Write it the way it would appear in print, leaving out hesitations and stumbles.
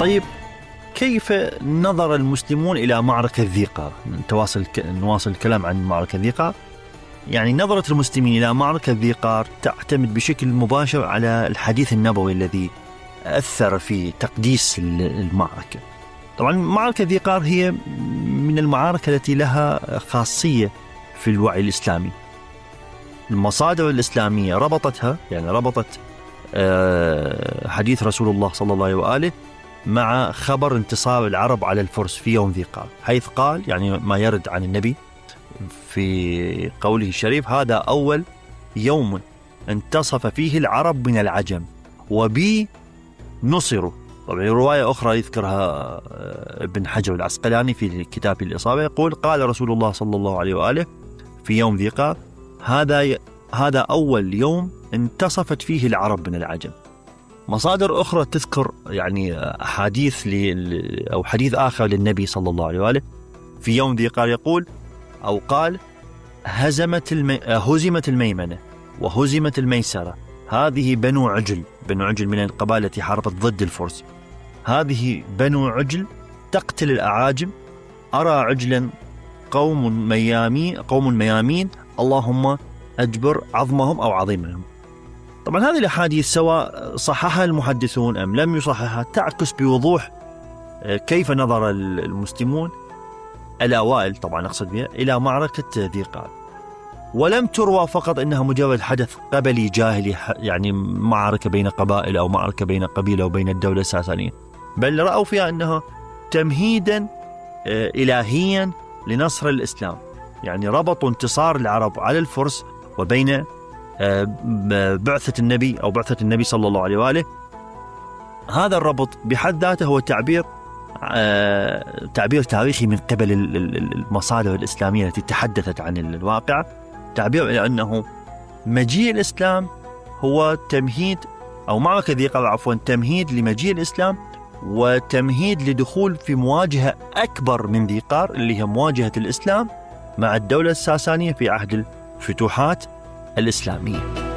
طيب، كيف نظر المسلمون إلى معركة ذي قار؟ نواصل الكلام عن معركة ذي قار. يعني نظرة المسلمين إلى معركة ذي قار تعتمد بشكل مباشر على الحديث النبوي الذي أثر في تقديس المعركة. طبعا معركة ذي قار هي من المعارك التي لها خاصية في الوعي الإسلامي. المصادر الإسلامية ربطتها، يعني ربطت حديث رسول الله صلى الله عليه وآله مع خبر انتصار العرب على الفرس في يوم ذي قار، حيث قال، يعني ما يرد عن النبي في قوله الشريف: هذا أول يوم انتصف فيه العرب من العجم وبي نصروا. طبعا رواية أخرى يذكرها ابن حجر العسقلاني في كتاب الإصابة، يقول: قال رسول الله صلى الله عليه وآله في يوم ذي قار: هذا أول يوم انتصفت فيه العرب من العجم. مصادر أخرى تذكر يعني أحاديث أو حديث آخر للنبي صلى الله عليه وآله في يوم ذي قار، يقول أو قال: هزمت الميمنة وهزمت الميسرة، هذه بنو عجل من القبائل التي حاربت ضد الفرس، هذه بنو عجل تقتل الأعاجم، أرى عجلا قوم ميامين اللهم أجبر عظمهم أو عظيمهم. طبعا هذه الأحاديث سواء صححها المحدثون أم لم يصححها تعكس بوضوح كيف نظر المسلمون الأوائل، طبعا أقصد بها، إلى معركة ذي قار. ولم تروى فقط إنها مجرد حدث قبلي جاهلي، يعني معركة بين قبائل أو معركة بين قبيلة وبين الدولة الساسانية، بل رأوا فيها أنها تمهيدا إلهيا لنصر الإسلام. يعني ربطوا انتصار العرب على الفرس وبين بعثة النبي صلى الله عليه وآله. هذا الربط بحد ذاته هو تعبير تاريخي من قبل المصادر الإسلامية التي تحدثت عن الواقع، تعبير إلى أنه مجيء الإسلام هو تمهيد، أو معركة ذي قار عفوا تمهيد لمجيء الإسلام وتمهيد لدخول في مواجهة أكبر من ذي قار، اللي هي مواجهة الإسلام مع الدولة الساسانية في عهد الفتوحات الإسلامية.